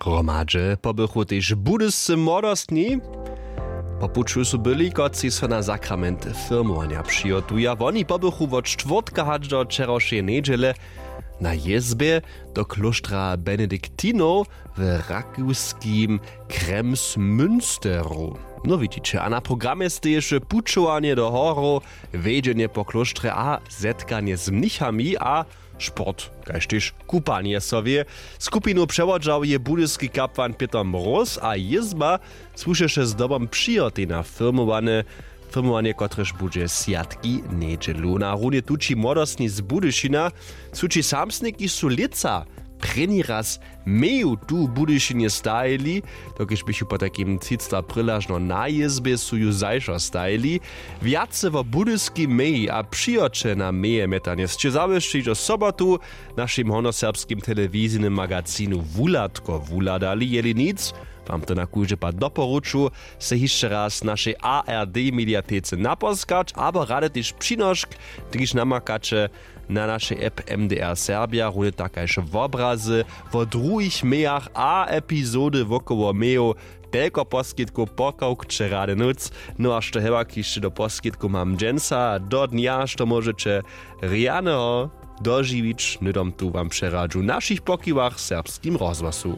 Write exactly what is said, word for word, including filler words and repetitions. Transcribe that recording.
Hromadźe pobychu tež budyscy młodostni. Po puću su byli, kotřiž so na sakrament firmowanja přihotuja. Woni pobychu wot štwórtka hač do wčerawšeje njedźele na jězbje do klóštra benediktinow w rakowskim Kremsmünsteru. No widźiće, a na programje steješe pućowanje do horow, wjedźenje po klóštrje a zetkanje z mnichami a sport, kaž tež kupanje so wě. Skupinu přewodźał je budyski kapłan Pětr Mróz a jězba słušeše zdobom přihotej na firmowanje, firmowanje, kotrež budźe swjatki njedźelu. Na runje tući młodostni z Budyšina su ći samsniki su lětsa prěni raz meju tu w Budyšinje stajili, dokelž běchu potajkim třicta prylažno na jězbje, su ju zašo stajili. Wjace wo budyskim meji a přihoće na meje mjetanje sće zawěsći hižo sobotu w našim hornjoserbskim telewizijnym magazinu Wuhladko wuhladali. Jeli nic, wam to na kóždy pad doporuču, se hišće raz w našej A R D mediatece naposkać abo rady tež přinošk, kiž namakaće na našej app M D R Serbia, runje tak kaž wobrazy wo druhich mejach a epizody wokoło mejow. Telko poskitkow pokawkće rady nóc. No a što hewak hišće do poskitkow mam dźensa do dnja, što móžeće rjaneho dožiwić, hnydom tu wam přeradźu w našich pokiwach w Serbskim rozhłosu.